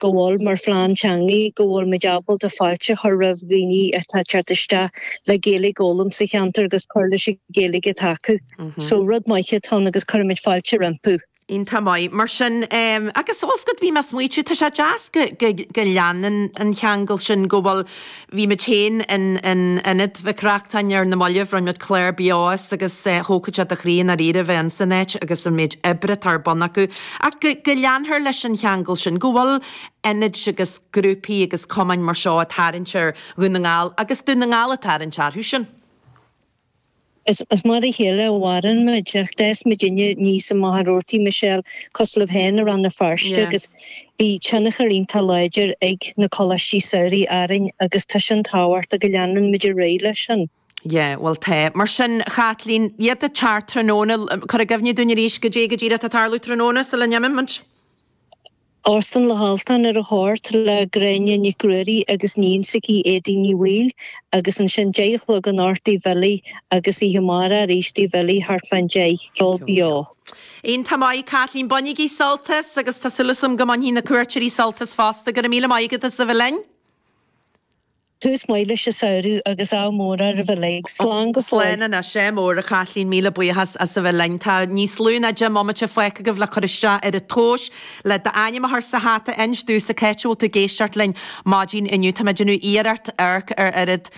Go bhfuil, mar phlean teangaí, go bhfuil muid ábalta fáilte a chur roimh dhaoine atá ag teacht isteach le Gaeilge a fhoghlaim sa cheantar agus cur leis an Ghaeilge atá acu. So rud maith atá ann agus cuirimid fáilte rompu. Iontach maith. Mar sin, agus fós go bhí mé ag smaoitiú, tá sé deas go, go, go leanann an cheangal sin, go bhfuil, bhí muid féin in, in Ionad Mhic Reachtain ar na mallaibh, rinne muid clár beo as agus thógfadh sé do chroí i ndáiríre a bheith in san áit agus an méid oibre atá ar bun acu. Ach go, go leanfar leis an cheangal sin, go bhfuil ionaid agus grúpaí agus cumainn mar seo ag tarraingt ar Dhún na nGall agus Dún na nGall ag tarraingt orthu sin. Is mar a chéile a mhaireann muid, ach d'fhás muidinne aníos i Machaire Rabhartaigh, Michelle, cosúil libh féin i Rann na Feirste agus bhí tionchar iontach láidir ag na coláistí samhraidh orainn agus tá sin tábhachtach go leanann muid ar aghaidh leis sin. Yeah, bhuel tá. Mar sin, Chaitlín, iad ag teacht tráthnóna, cuir i gcuimhne dúinn arís goidé go díreach atá ag tarlú tráthnóna sula n-imíonn muid. Óstán Loch Altan ar a hocht le Gráinne Nic Ruairí agus iníon s'aici Éadaoin Ní Bhaoill agus ansin 10 a chlog anocht Tigh Bhilly agus oíche amárach arís Tigh Bhilly thart fán 10, ceol beo. Iontach maith, Caitlín. Bainigí sult as agus tá súil agam go mbainfidh na cuairteoirí sult as fosta. Go raibh míle maith agat as a bheith linn. Tús maith leis an samhradh agus ádh mór oraibh uilig. Slán go fóill. Slán anois, ádh mór, a Chaitlín, míle buíochas as a bheith linn. Tá níos lú ná 10 mbomaite fágtha agaibh le cur isteach ar an tomhas, le d'ainm a chur sa hata, inis domhsa cá háit a bhfuil tú ag éisteacht linn maidin inniu. Tá mé ag déanamh iarracht amharc ar oiread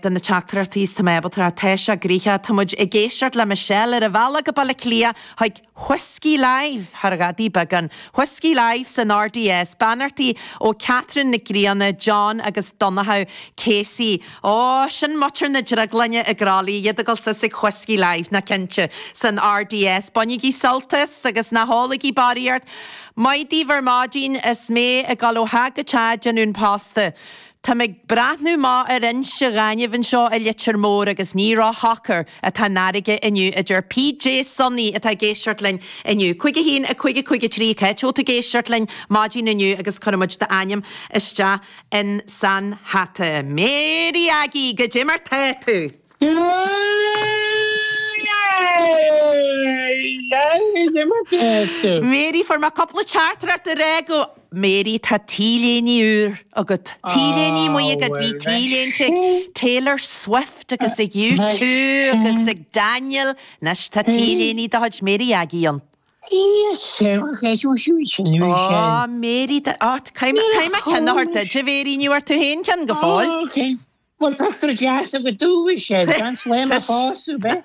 de na teachtaireachtaí is tá mé ábalta. Tá sé gnoitheach. Tá muid ag éisteacht le Michelle ar an bhealach go Baile Átha Cliath chuig Whisky Live thar ghadaí beagán. Whisky Live san RDS. Beannachtaí ó Catherine Nic Grianna, John agus Donnchadh Casey. Ó, sin muintir na Drioglainne i gCrolly, iad ag dul suas ag Whisky Live, ná cinnte, san RDS. Bainigí sult as agus ná hólaigí barraíocht. Maith daoibh ar maidin is mé ag dul ó theach go teach ag déanamh an posta. Táim ag breathnú amach ar Inse Ghainimh anseo i Leitir Móir agus ní ró-shocair atá an fharraige inniu, a deir PJ Sonny atá ag éisteacht linn inniu. 5 1 5 5 3 Cá háit a bhfuil tú ag éisteacht linn maidin inniu agus cuirfidh muid d'ainm isteach in san hata. Mary Aggie, goidé mar tá tú? Mary, fuair mé cúpla teachtaireacht ag rá go Mary, tá T-léine úr agat. T-léine maith agat. Bhí T-léinte ag Taylor Swift agus ag U2 agus ag Daniel. Anois tá T-léine de chuid Mary Aggie ann. Ó, Mary, caithfidh mé ceann a thabhairt duit, a Mhary, ní bhfuair tú féin ceann go fóill. Bhuel pictiúr deas agat domh is é gan slám a fás ar bith.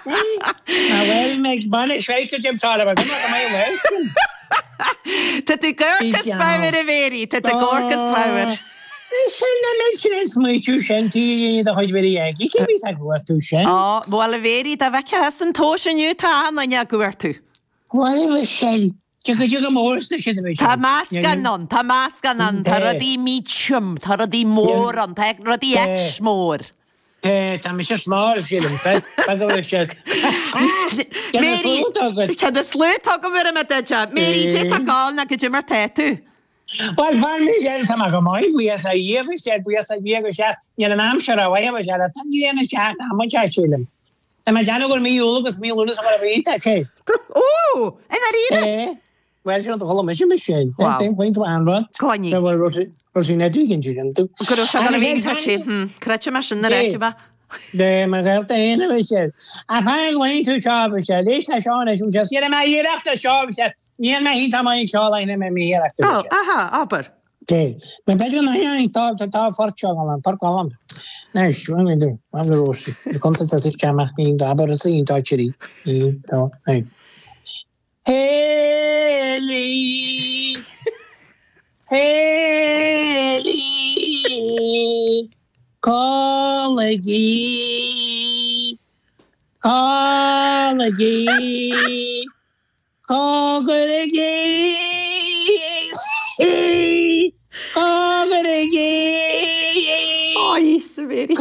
Ná bhuel mé ag baile seice dem sára go mbeadh mé leis sin. Tá tú ag amharc as fabhar a Mhary, tá tú ag amharc as fabhar. Sin na mé sin smaoitiú sin T-léine de chuid Mhary Aggie, cé bhí ag cuartú sin? Ó, bhuel a Mhary, dá bhfeicfeá thusa an tomhas inniu tá achan duine á gcuartú. Bhuel a sin, Go dtí go mór sna sin a bhí Tá meascán ann, tá meascán ann, tá rudaí medium, tá rudaí mór ann, tá rudaí X mór. Tá, tá mise small, sílim, tá go bhfuil siad. Ceann na sluaite agat. Ceann na sluaite agam ar an mbeid. Mary, cad é tá ag gabháil ná goidé mar tá tú. Bhuel, fan Michelle, tá mé go maith, buíochas a Dhia, Michelle, buíochas a Dhia go sea, níl an aimsir rómhaith, Michelle, tá an ghrian ag teacht, amanta, sílim. Tá mé ag déanamh gur mí Iúil agus mí Lúnasa mar a bhí, tá sé. Ó! I ndáiríre? É. Bhuel, sin an chuala mise, Michelle. Wow. Ten point one rud. Coinnigh. Go raibh raibh sé net weekend sin tú. Go raibh sé go raibh tá sé. Creidte mé sin nuair a fheicfidh mé. De mo ghaolta féin a Michelle. A fan glaonn tú seo, Michelle. Éist le seo anois, Michelle. Déanfaidh mé iarracht ar seo, Michelle. Níl mé iontach maith ag ceol ach déanfaidh mé iarracht ar seo. Ó, aha, abair. Dé. Nó b'fhéidir nach ea, tá, tá, tá phort seo galán, port galán. Anois, bhain mé dú, bhain mé Rósaí. Na cuntas as is ceamach, ní abair is í, tá trí, ní, tá, ní. Héilí, Héilí, codlaigí, codlaigí. Cogairigí! Cogairigí! Ó, a Mhary.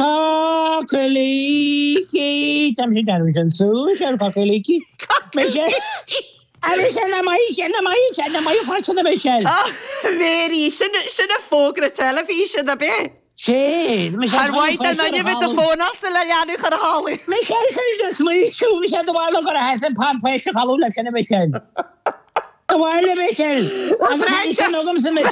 Cocailící! Tá mise ag déanamh sin suas ar cocailící. Michelle! Agus sin na maith, sin na maith, sin na maith freisin a Michelle. Ó, Mary, sin sin a fógra teilifíse, ab é? Sé, Michelle, Ar mhaith don duine a bheith do fónálsa le leanbh chur a chodladh. Michelle, sin de smaoitiú, Michelle, do bharr liom gur theas an pan poist a chodladh leis sin a Michelle. Abhaile Michelle! Agus sin agamsa Michelle!